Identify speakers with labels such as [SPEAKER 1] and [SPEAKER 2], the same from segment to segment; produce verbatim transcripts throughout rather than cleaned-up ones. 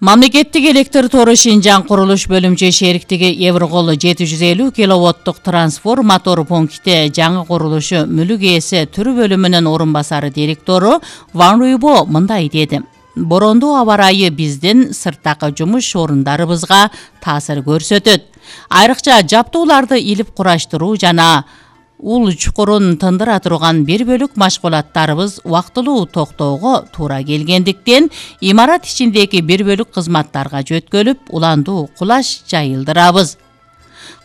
[SPEAKER 1] Мамлекеттик электр тору Шинжаң курулуш бөлүмчө шериктиги Еврокол жети жүз элүү киловаттык трансформатор пункти жаңы курулушу мүлүк ээси түрү бөлүмүнүн орун басары директору Ван Руйбо мындай деди. Борондуу аба ырайы биздин сырттагы жумуш орундарыбызга таасир көрсөтөт. Айрыкча жаптууларды илип кураштыруу жана ул чукурун тындыра турган бир бөлүк машгулаттарыбыз убактылуу токтоого туура келгендиктен имарат ичиндеги бир бөлүк кызматтарга жөткөлүп, уландуу кулаш жайылдырабыз.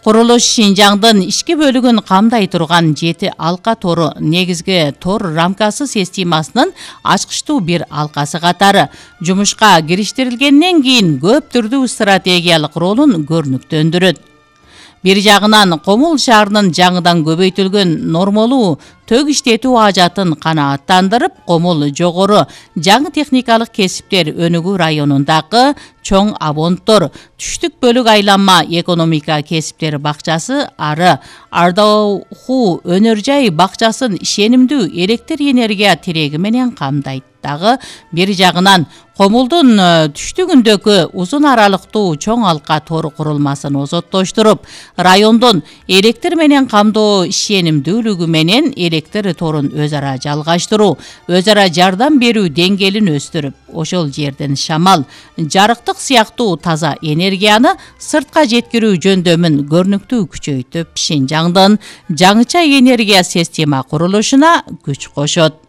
[SPEAKER 1] Курулуш Шинжаңдын ички бөлүгүн камдай турган жети алка тору негизги тор рамкасы системасынын ачкычтуу бир алкасы катары жумушка кириштирилгенден кийин көп түрдүү стратегиялык ролун көрүнүктөндүрөт. Бир жагынан Комул шаарынын жаңыдан көбөйтүлгөн нормалуу төг иштетүү ажатын канааттандырып, Комул жогору жаңы техникалык кесиптер өнүгүү районундагы чоң абонттор, түштүк бөлүк айланма экономика кесиптери бакчасы ары Ардауху өнөр жай бакчасын ишенимдүү электр энергия тиреги менен камдайт. Дагы бир жагынан Комулдун түштүгүндөгү узун аралыктуу чоң алка тор курулмасын озоттоштуруп, райондун электр менен камдоо ишенимдүүлүгү менен электр торун өз ара жалгаштыруу, өз ара жардам берүү деңгээлин өстүрүп, ошол жерден шамал, жарыктык сыяктуу таза энергияны сыртка жеткирүү жөндөмүн көрүнүктүү күчөйтүп, Шинжаңдын жаңыча энергия система курулушуна күч кошот.